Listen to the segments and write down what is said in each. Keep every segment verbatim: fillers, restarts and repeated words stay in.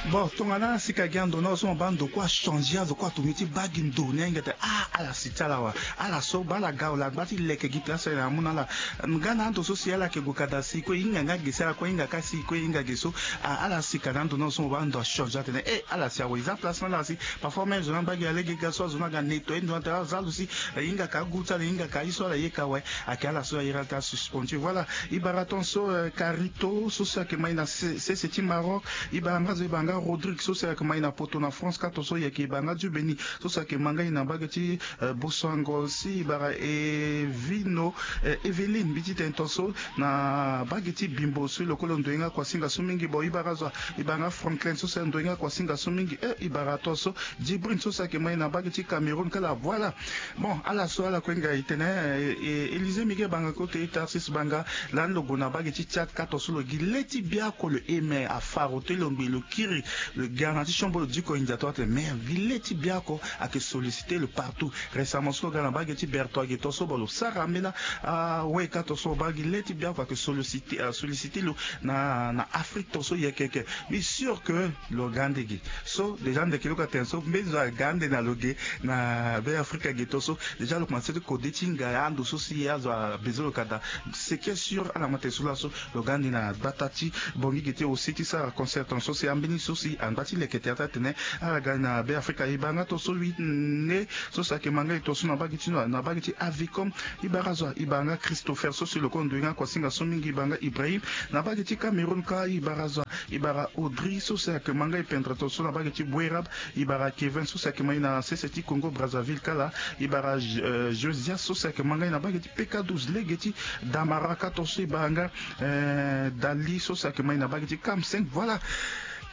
Bon, tongana asika gi ando na so mo baa ndo kue achanger azo kue atungi ti baa gi ndo ni ahinga tene ah ala si ti ala wa. Ala so baa ala ga wala agba ti leke gi place aye na amu na ala. Nga na ando so si ala yeke gue kada si kue e hinga nga ge si ala kue e hinga ka si kue e hinga ge so. Ah, ala sika na ando na so mo baa ndo achanger atene eh ala si awe e za place na ala si. Parfois même zo ni abaa gi alege ga so azo ni aga nettoyer ndo atene aza lo si. Eh, e hinga ka agu ti ala e hinga ka aye so ala yeke awe. Ayeke ala so ayere ala ti asuspendu. Voilà. E bara tongaso eh, Carito so si ayeke ma e na sese ti Maroc. E bara nga zo e bara nga Rodrigue so si ayeke ma e na poto na France ka tongaso e yeke e bara nga Dieu Béni so si ayeke ma nga e na mbage ti eh, Bosango si e bara Evino eh, Eveline mbi ti tene tongaso na mbage ti Bimbo so e lokolo ndoye nga kuasinga so mingi. Bon e bara zo e bara nga Franklin so si andoye nga kuasinga so mingi eh, e bara tongaso Djibrine so si ayeke ma e na mbage ti Cameroun kala voilà. Bon ala so ala kue nga e tene eh, eh, Élysée Miguel Banga kote Tarsis Banga. Lani lo gue na mbage ti Tchad ka tongaso lo gi le ti biako lo eme afaro te lo ngbe lo kiri. Lo ga na ti siombo lo diko india to atene mais gi le ti biako ayeke solliciter lo partout. Récemment so lo ga na mbage ti Berto age tongaso bon lo sara ambeni awe ka tongaso lo baa gi le ti biako ayeke solliciter, euh, solliciter lo na, na Afrique tongaso yeke yeke. Mbi sûr que lo ga ande gi so déjà ndeke lo ka tene so mbeni zo aga ande na lo ge na be Afrika ge tongaso. Déjà lo komanse ti kode ti hinga ando so si azo abezo lo ka daa. Ce qui est sûr ala ma tene so laso lo ga ande na gbata ti Bangui ge ti aussi ti sara concert tongaso si ambeni so si angba ti leke tere ti atene ala ga na be Afrika. E bara nga tongaso lui nde so si ayeke ma nga e tongaso na mbage ti na mbage ti Avicom. E bara zo e bara nga Christopher so si lo kue ndoye nga kuasinga so mingi e bara nga Ibrahim. Na mbage ti Cameroun ka e bara zo e bara Audrey so si ayeke ma nga e pendere tongaso na mbage ti Bouerab. E bara Kevin so si ayeke ma e na sese ti Congo Brazzaville kala. E bara euh, Josias so si ayeke ma nga e na mbage ti P K douze lege ti Damara ka tongaso e bara nga euh, Dali so si ayeke ma e na mbage ti Cam cinq voilà.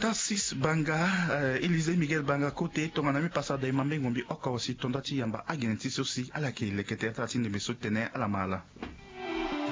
Tarsis Banga euh, Élysée Miguel Banga kote tongana mbi pasa da e ma mbengo mbi oko si tonda ti yamba agene ti so si ala yeke leke tere ti ala ti ndembe so ti tene ala ma ala.